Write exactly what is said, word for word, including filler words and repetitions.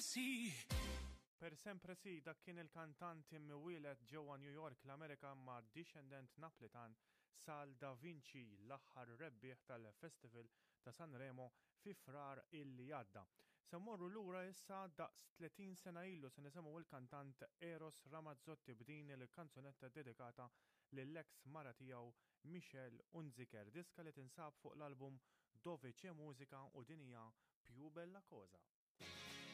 sì. Per sempre sì, dak kien il-kantant imwieled ġewwa New York, l-Amerika, ma' dixxendent Naplitan, Sal Da Vinci, l-aħħar rebbieħ tal-Festival ta' Sanremo fi Frar illi għadda. Se mmorru lura issa daqs tletin sena ilu, se nisimgħu il-kantant Eros Ramazzotti b'din il-kanzunetta dedikata lill-ex mara tiegħu Michelle Hunziker, diska li tinsab fuq l-album Dove c'è musica, u din hija Più bella cosa.